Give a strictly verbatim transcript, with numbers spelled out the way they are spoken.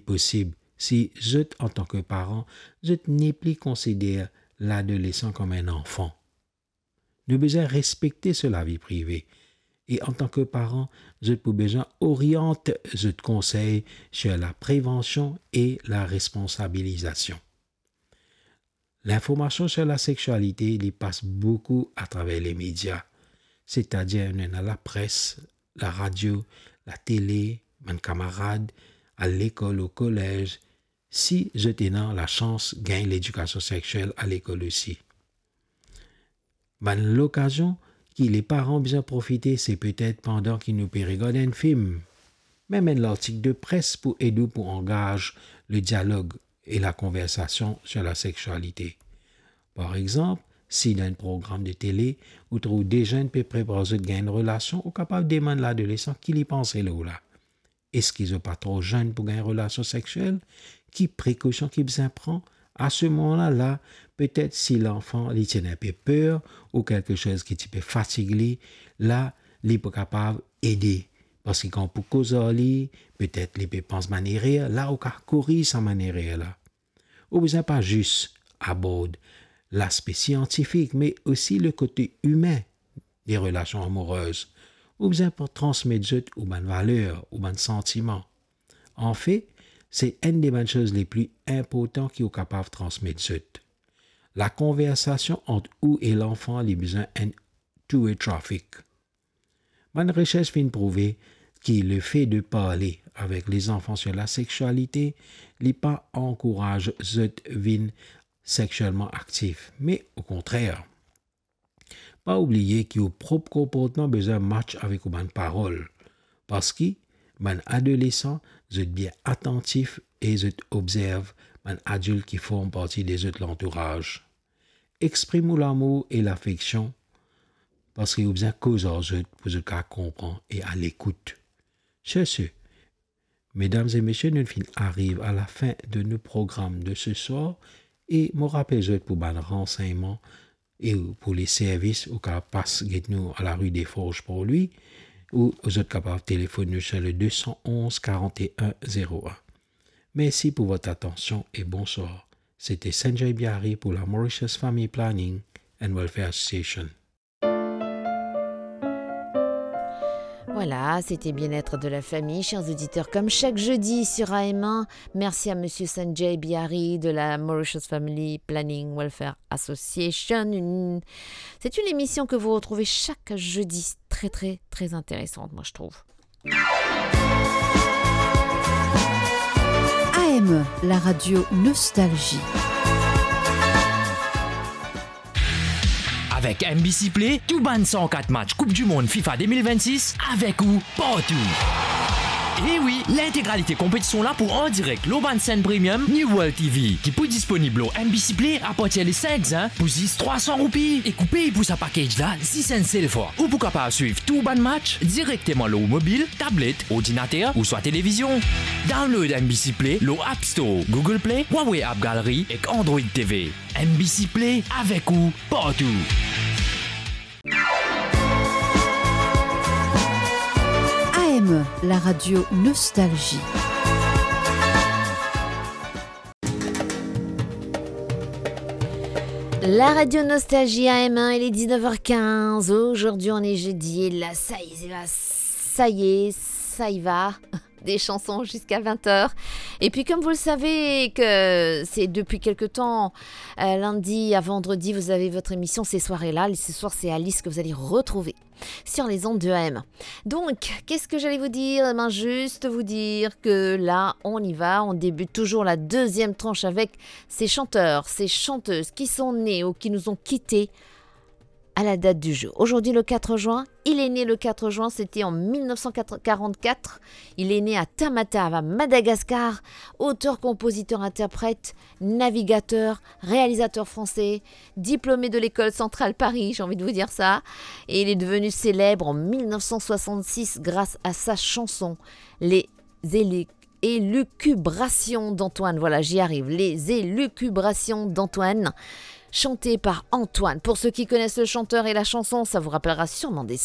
posib si zot, antan ki paran, zot nepli konsider ladolesan kom enn anfan. Nou bizin respekte so lavi prive, e antan ki paran, zot pou bizin oriant zot konsey sir laprevansion e laresponsabilizasion. Linformasion sir lasexialite, li pas boukou atraver lemedia, setadir nou ena lapres, laradio, latele, bann kamarad, alekol, okolez, si zot ena lasans gagn ledikasion sexiel alekol osi. Bann lokazion ki leparan bizin profite, se petet pandan ki nou pe regard enn fim, mem enn lartik de pres pou ed ou pou angaz ledialog e lakonversasion sir lasexialite. Par exanp, si dan enn program de tele, ou trouv de zenn pe prepar zot gagn enn relasion, ou kapav demann ladolesan ki li panse lor la. Eski zot pa tro zenn pou gagn relasion sexiel? Ki prekosion ki bizin pran? A se moman la, la, petet si lanfan li ti ena enpe per ou kiksoz ki ti pe fatig li, la, li pou kapav ede. Parski kan ou pou koz ar li, petet li pe pans bann erer, la ou kav koriz sa bann erer la. Ou bizin pa zis abord laspe siantifik, me osi le kote imin de relasion amourez. Ou bizin pou transmet zot ou bann valer, ou bann santiman. Anfet, se enn de bann soz le pli inportan ki ou kapav transmet zot. Lakonversasion ant ou e lanfan, li bizin enn two-way traffic. Bann resers finn prouve ki lefe de parle avek lezanfan sir lasexialite, li pa ankouraz zot vinn sexielman aktif, me okontrer. Pa oubliye ki ou prop konportman bizin match avek ou bann parol, parski bann adolesan, zot bien atantif e zot obzerv bann adilt ki form parti de zot lantouraz. Exprim ou lamour e lafeksion, parski ou bizin koz ar zot pou zot kav konpran e alekout. Sir se, medam e mesie, nou finn ariv a lafin de nou program de se swar, e mo rapel zot pou bann ransegnman e pou le servis, ou kav pas get nou a la rue des Forges pour lui, ou zot kapav telefonn nou sir le deux cent onze quarante et un zéro un. Merci pour votre attention et bonsoir. C'était Sanjay Biari pour la Mauritius Family Planning and Welfare Association. Voilà, c'était Bien-être de la famille. Chers auditeurs, comme chaque jeudi sur A M un, merci à monsieur Sanjay Biari de la Mauritius Family Planning Welfare Association. Une, c'est une émission que vous retrouvez chaque jeudi. Très, très, très intéressante, moi, je trouve. A M E, la radio Nostalgie. Avek M B C Play, tou bann san kat match Koup di Mond FIFA de mil vennsis avek ou partou. E wi, lintegralite konpetision la pou an direk lor bann senn premium New World T V, ki pou disponib lor M B C Play apartir le sink zin pou zis trwa san roupi. Ek ou pey pou sa package la zis enn sel fwa. Ou pou kapav swiv tou bann match direkteman lor ou mobil, tablet, ordinater ouswa televizion. Download M B C Play lor App Store, Google Play, Huawei App Gallery ek Android T V. M B C Play, avek ou partou. A M E, la radio Nostalgie. La radio Nostalgie A M un, il est dix-neuf heures quinze. Aujourd'hui, on est jeudi et là, ça y est, ça y est, ça y va. Des chansons jusqu'à vingt heures. Et puis, comme vous le savez, que c'est depuis quelque temps, euh, lundi à vendredi, vous avez votre émission Ces soirées-là. Ce soir, c'est Alice que vous allez retrouver sur les ondes de A M un. Donc, qu'est-ce que j'allais vous dire ? Eh ben, juste vous dire que là, on y va. On débute toujours la deuxième tranche avec ces chanteurs, ces chanteuses qui sont nés ou qui nous ont quittés à la date du jour. Aujourd'hui, le quatre juin, il est né le quatre juin, c'était en mille neuf cent quarante-quatre. Il est né à Tamatave, à Madagascar. Auteur, compositeur, interprète, navigateur, réalisateur français, diplômé de l'école centrale Paris, j'ai envie de vous dire ça. Et il est devenu célèbre en mille neuf cent soixante-six grâce à sa chanson, Les Élu-, Élucubrations d'Antoine. Voilà, j'y arrive. Les Élucubrations d'Antoine, chantées par Antoine. Pour ceux qui connaissent le chanteur et la chanson, ça vous rappellera sûrement des